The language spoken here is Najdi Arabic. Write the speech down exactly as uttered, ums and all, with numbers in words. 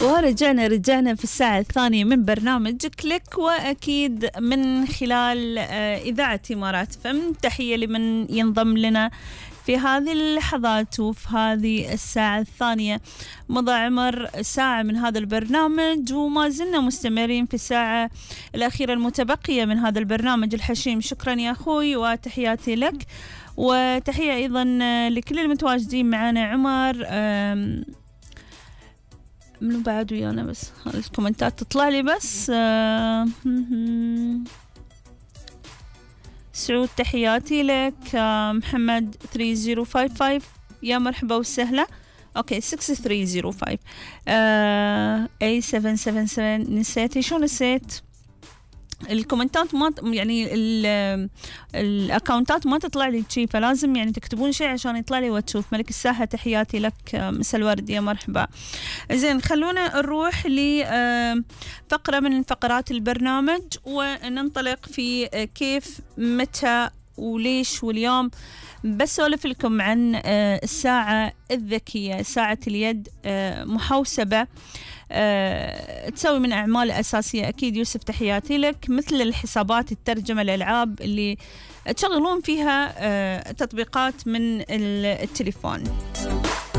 ورجعنا رجعنا في الساعة الثانية من برنامج كليك، وأكيد من خلال إذاعة إمارات فم. تحية لمن ينضم لنا في هذه اللحظات وفي هذه الساعة الثانية. مضى عمر ساعة من هذا البرنامج وما زلنا مستمرين في الساعة الأخيرة المتبقية من هذا البرنامج الحشيم. شكرا يا أخوي وتحياتي لك، وتحية أيضا لكل المتواجدين معنا. عمر منو بعد ويانا؟ بس الكومنتات تطلع لي بس. سعود تحياتي لك. محمد ثلاثة صفر خمسة خمسة يا مرحبا وسهلا. اوكي ستة ثلاثة صفر خمسة اي سبعة سبعة سبعة. نسيتي شو نسيت؟ الكومنتات ما يعني الاكونتات ما تطلع لي شيء، فلازم يعني تكتبون شيء عشان يطلع لي وتشوف. ملك الساحة تحياتي لك. مساء الورد يا مرحبا. زين خلونا نروح لفقرة من فقرات البرنامج وننطلق في كيف متى وليش. واليوم بسولف لكم عن الساعة الذكية، ساعة اليد محوسبة أه، تسوي من أعمال أساسية. أكيد يوسف تحياتي لك. مثل الحسابات، الترجمة، الألعاب اللي تشغلون فيها أه، تطبيقات من التليفون.